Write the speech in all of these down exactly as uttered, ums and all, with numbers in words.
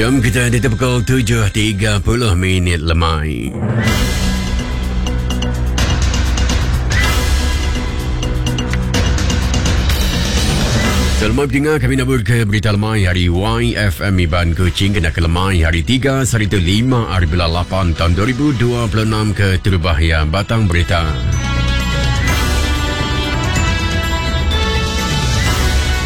Jam kita di pukul tujuh tiga puluh minit lemai. Selamat dengar kami nabur ke berita lemai hari Y F M Iban Kuching kena ke lemai hari tiga seribu lima hari bulan lapan tahun dua ribu dua puluh enam ke Terubahia Batang Berita.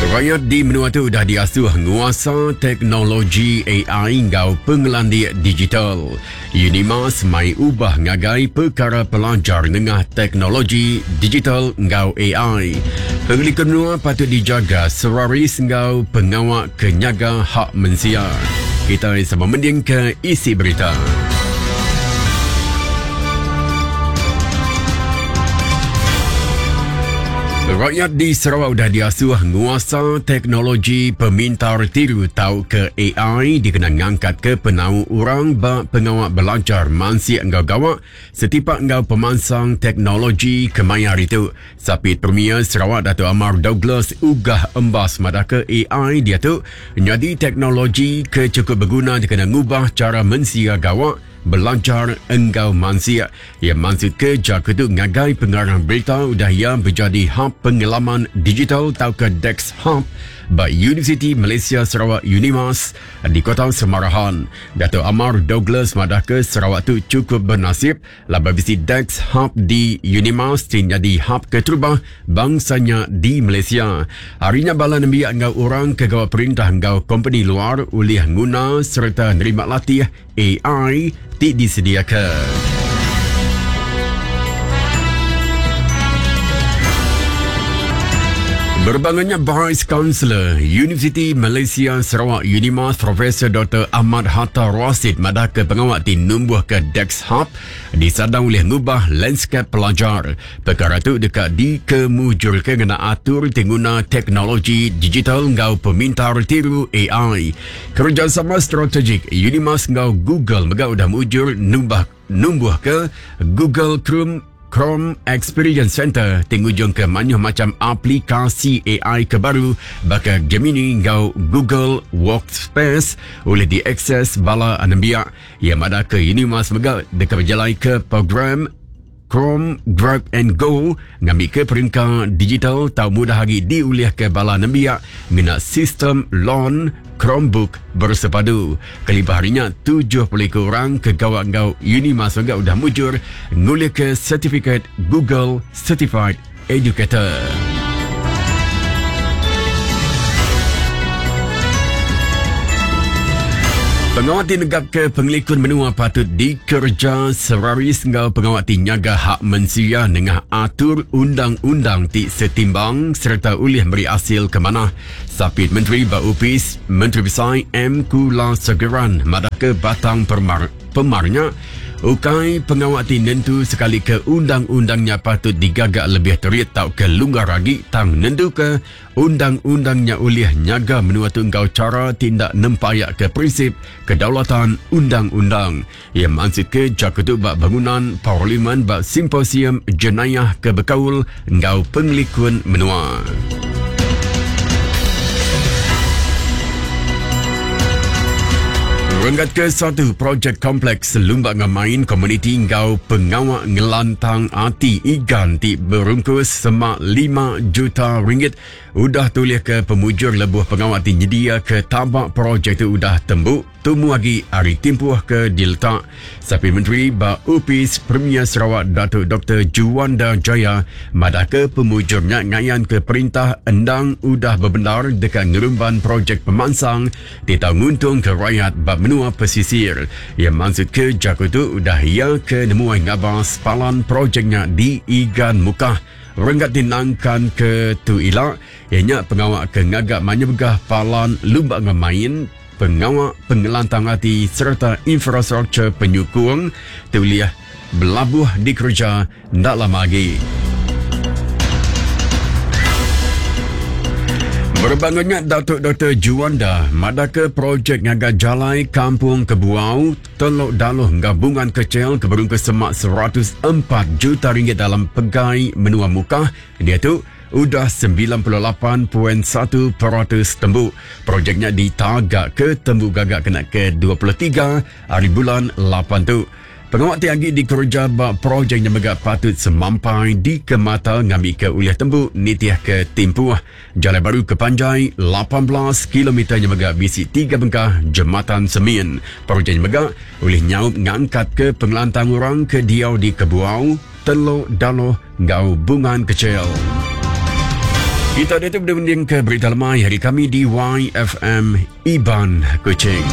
Rakyat di menua tu dah diasuh nguasa teknologi A I ngau pengelandik digital. Unimas mai ubah ngagai perkara pelajar nengah teknologi digital ngau A I. Pengelikun menua patut dijaga seraris ngau pengawak kenyaga hak mensia. Kita sama mending ke isi berita. Rakyat di Sarawak sudah diasuh nguasa teknologi pemintar tiru tau ke A I dikena ngangkat ke penau orang ba pengawak belajar mansi enggau gawak setipak enggau pemansang teknologi kemaya hari tu. Sapit Premier Sarawak Dato' Amar Douglas Uggah Embas madah ke A I dia tu jadi teknologi ke cukup berguna dikena ngubah cara mensia gawak belajar engkau mansia. Ia maksud ke jaku tu ngagai pengarang berita udah ia menjadi hub pengalaman digital tau ke Dex Hub by University Malaysia Sarawak Unimas di Kota Semarahan. Dato' Amar Douglas madah ke Sarawak tu cukup bernasib laba bisi Dex Hub di Unimas jadi hub keterubah bangsanya di Malaysia. Harinya bala nembiak engkau orang ke gawak perintah engkau company luar ulih nguna serta nerima latih A I ti disediakan. Berbangunnya Vice Chancellor Universiti Malaysia Sarawak Unimas Profesor Doktor Ahmad Hatta Rasid madah ke pengawak ti numbuh ke Dex Hub disadang oleh ngubah landscape pelajar. Perkara tu dekat dikemujurkan kena atur tengguna teknologi digital ngau pemintar tiru A I. Kerjasama strategik Unimas ngau Google megau dah mujur numbah numbuh ke Google Chrome Chrome Experience Center tingujung ke manyuh macam aplikasi A I ke baru baka Gemini ngau Google Workspace boleh diakses bala anembiak. Ia madah ke Unimas mega dekat berjalan ke program Chrome Grab and Go ngambil ke peringkat digital tau mudah lagi diulih ke bala nembiak ngena sistem loan Chromebook bersepadu. Kelibah harinya tujuh puluh orang ke gawak ngau Unimas mega udah mujur ngulih ke sertifikat Google Certified Educator. Pengawat tinegap ke pengelikun menua patut dikerja seraris ngau pengawat tinyaga hak mensia nengah atur undang-undang ti setimbang serta ulih beri hasil ke mana. Sapit Menteri Baupis Menteri Besar M. Kula Segeran madah ke batang permar, pemarnya ukai pengawat tinentu sekali ke undang-undangnya patut digagak lebih terit tau ke lunggar lagi tang nentu ke undang-undangnya ulih nyaga menua tu engkau cara tindak nempayak ke prinsip kedaulatan undang-undang. Ia maksud ke jaku tu bak bangunan parlimen bak simposium jenayah ke bekaul engkau pengelikun menua. Renggat ke satu projek kompleks Lumbak Ngamain komuniti ngau pengawak ngelantang ati igan ti berungkus semak lima juta ringgit udah tulis ke pemujur lebuh pengawak ti nyedia ke tabak projek tu udah tembuk tumu lagi hari timpuh ke diletak. Sapi Menteri Ba Upis Premier Sarawak Datuk Doktor Juanda Jaya madah ke pemujurnya ngayan ke perintah endang udah berbenar dekat ngerumban projek pemansang ti tau nguntung ke rakyat bab menua pesisir. Ia maksud ke jaku tu udah ia ke nemuai ngabas palan projeknya di Igan Mukah. Renggat dinangkan ke tu ila ianya pengawak ke ngagak manyebegah palan lumbak ngemain pengawak pengelantang hati serta infrastruktur penyukung tuliah belabuh dikerja ndak lama lagi. Berbangunnya Datuk Doktor Juanda madah ke projek ngaga jalai Kampung Kebuau Teluk Daloh gabungan kecil keberungkus semak seratus empat juta ringgit dalam pegai menua Mukah dia tu udah sembilan puluh lapan perpuluhan satu peratus tembu. Projeknya ditagak ke tembu gagak kena ke dua puluh tiga hari bulan lapan tu. Pengawak ti agi dikerja ba projeknya mega patut semampai di kemata ngambil ke uliah tembu nitiah ke timpuh. Jalan baru ke panjai lapan belas kilometer nya mega bisi tiga bengkah jematan semin. Projeknya mega ulih nyaup ngangkat ke pengelantang orang ke diau di Kebuau, Teluk Daloh ngau Bungan Kecil. Kita dia tu berdending ke berita lemai hari kami di Y F M Iban Kuching.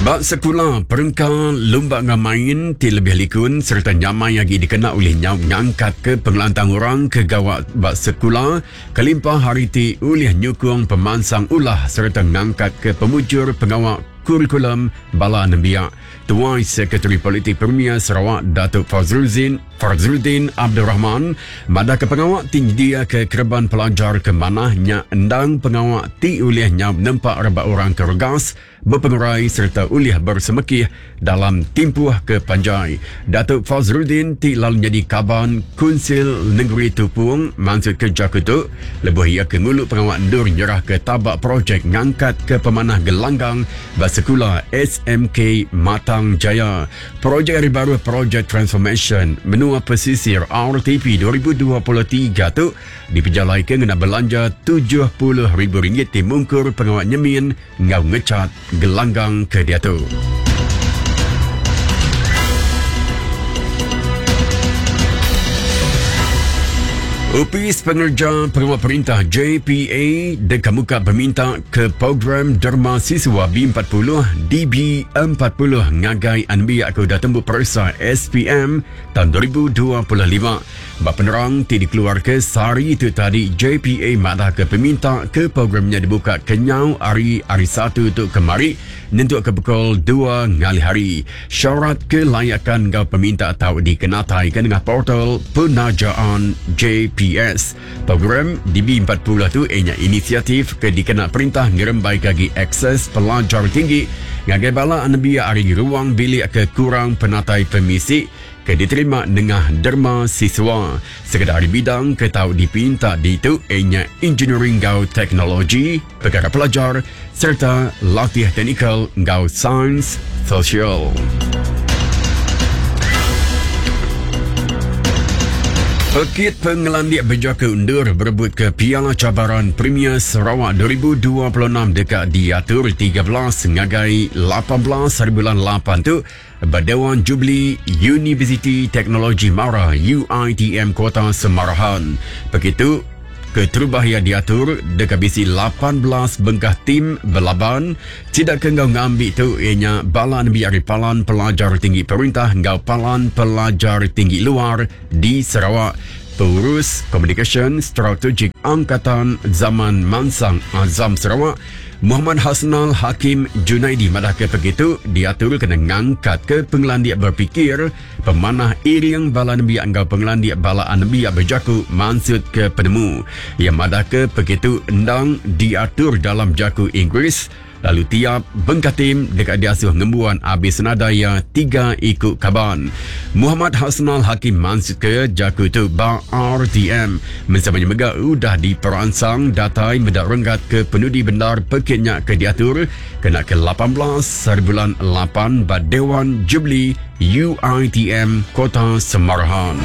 Bak sekolah perengka lumba ngamain ti lebih likun serta nyamai lagi dikena oleh nyau ngangkat ke pengelantang orang ke gawak bak sekolah kelimpah hari ti ulih nyukung pemansang ulah serta ngangkat ke pemujur pengawak kurikulum bala nembiak. Tuai Sekretari Politik Premier Sarawak Datuk Fazruddin Fazruddin Abdul Rahman madah ke pengawak tinggi dia ke kerban pelajar ke manahnya endang pengawak ti ulih nyau nempak rebak orang ke regas berpengerai serta ulih bersemekih dalam timpuh ke panjai. Datuk Fazruddin ti lalu jadi kaban Kunsil Negeri Tupung maksud kerja kutuk lebuh ia ke nguluk pengawak ndur nyerah ke tabak projek ngangkat ke pemanah gelanggang bersekula S M K Matang Jaya. Projek hari baru Projek Transformation Menua Pesisir R T P dua ribu dua puluh tiga tu dipejalai ke ngena belanja tujuh puluh ribu ringgit ti mungkur pengawak nyemin ngau ngecat gelanggang ke dia tu. Upis Pengerja Pengawal Perintah J P A dekamuka peminta ke program Derma Siswa B empat puluh D B empat puluh ngagai anbiak ke dah tembu periksa S P M tahun dua ribu dua puluh lima. Bak penerang ti dikeluar ke sehari itu tadi J P A madah ke peminta ke programnya dibuka kenyau hari hari satu tu kemari nentuk ke pukul dua ngalih hari. Syarat kelayakan gau peminta tau dikenatai ke dengan portal penajaan J P S. Program D B empat puluh tu ianya inisiatif ke dikena perintah ngerembai kagi akses pelajar tinggi ngagai bala anembiak ari ruang bilik ke kurang penatai pemisi ke diterima nengah derma siswa. Sekedar bidang ke tau dipinta di tu ianya engineering gau teknologi, perkara pelajar serta latih teknikal gau sains sosial. Pekit Pengelandik Berjaka Undur berebut ke Piala Cabaran Premier Sarawak dua ribu dua puluh enam dekat diatur tiga belas ngagai lapan belas hari bulan lapan tu Berdewan Jubli Universiti Teknologi Mara U I T M Kota Semarahan. Begitu keterubah yang diatur dekat bisi lapan belas bengkah tim berlaban. Tidak ke ngau ngambil tu ianya balan biari palan pelajar tinggi perintah ngau palan pelajar tinggi luar di Sarawak. Pengurus Komunikasi Strategik Angkatan Zaman Mansang Azam Sarawak Muhammad Hasnal Hakim Junaidi madah ke begitu diatur kena ngangkat ke pengelandiak berfikir pemanah iring bala nembiak engkau pengelandiak bala nembiak berjaku maksud ke penemu. Yang madah ke begitu endang diatur dalam jaku Inggeris lalu tiap bengkatim dekat diasuh ngembuan habis senadaya tiga ikut kaban. Muhammad Hasnal Hakim maksud ke jaku tu ba R T M. Mensamanya mega udah diperansang datai medak renggat ke penudi bendar pekitnya ke diatur kena ke lapan belas hari bulan lapan ba Dewan Jubli U I T M Kota Semarahan.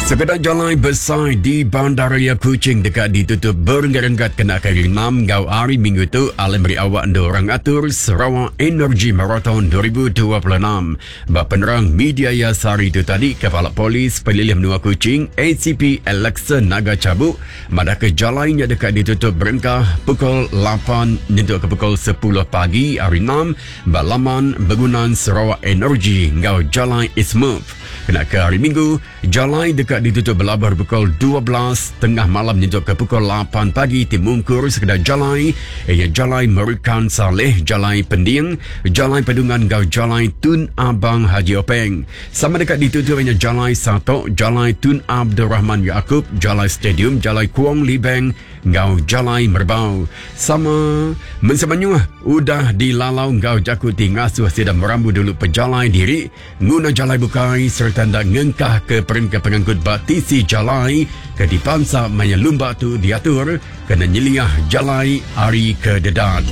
Sekedar jalan besar di Bandaraya Kuching dekat ditutup berenggat-renggat kena kali enam gau hari minggu tu alam beri awak anda orang atur Sarawak Energy Marathon dua ribu dua puluh enam. Bak penerang media Yasari itu tadi Kepala Polis Pelilih Menua Kuching A C P Alexa Naga Cabuk madah ke jalannya dekat ditutup berengkah pukul lapan nyentuk ke pukul sepuluh pagi hari enam balaman bangunan Sarawak Energy gau jalan Ismuf. Kena ke hari Minggu, jalan dekat ditutup berlabar pukul dua belas tengah malam nyentuh ke pukul lapan pagi timungkur sekedar jalan ia jalan Merukan Saleh, jalan Pending, jalan Pedungan gau jalan Tun Abang Haji Openg. Sama dekat ditutup ianya jalan Satok, jalan Tun Abdul Rahman Yaakob, jalan Stadium, jalan Kuang Libeng gau jalan Merbau. Sama mensemanyuh Udah dilalau ngau jaku ti ngasuh sida merambu dulu pejalai diri nguna jalai bukai serta ndak ngengkah ke perengka pengangkut ba tisi jalai ke dipansa maya lumba tu diatur kena nyeliah jalai ari ke dedat.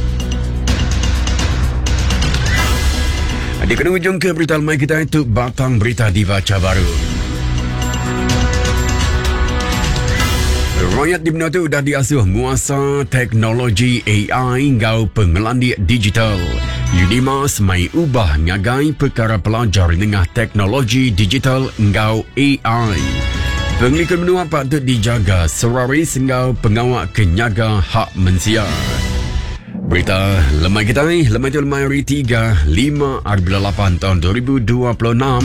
Di kena ujung ke berita lemai kita itu batang berita dibaca baru. Rakyat di benua tu dah diasuh nguasa teknologi A I ngau pengelandik digital. Unimas mai ubah ngagai perkara pelajar nengah teknologi digital ngau A I. Pengelikun menua patut dijaga seraris ngau pengawak kenyaga hak mensia. Berita lemai kita ni, lemai tu lemai hari tiga, lima hari bulan lapan tahun dua ribu dua puluh enam.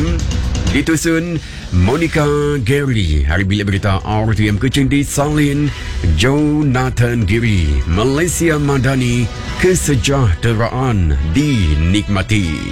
Ditusun Monica Gary. Hari bilik berita R T M Kuching di Salin Jonathan Giri. Malaysia Madani, kesejahteraan dinikmati.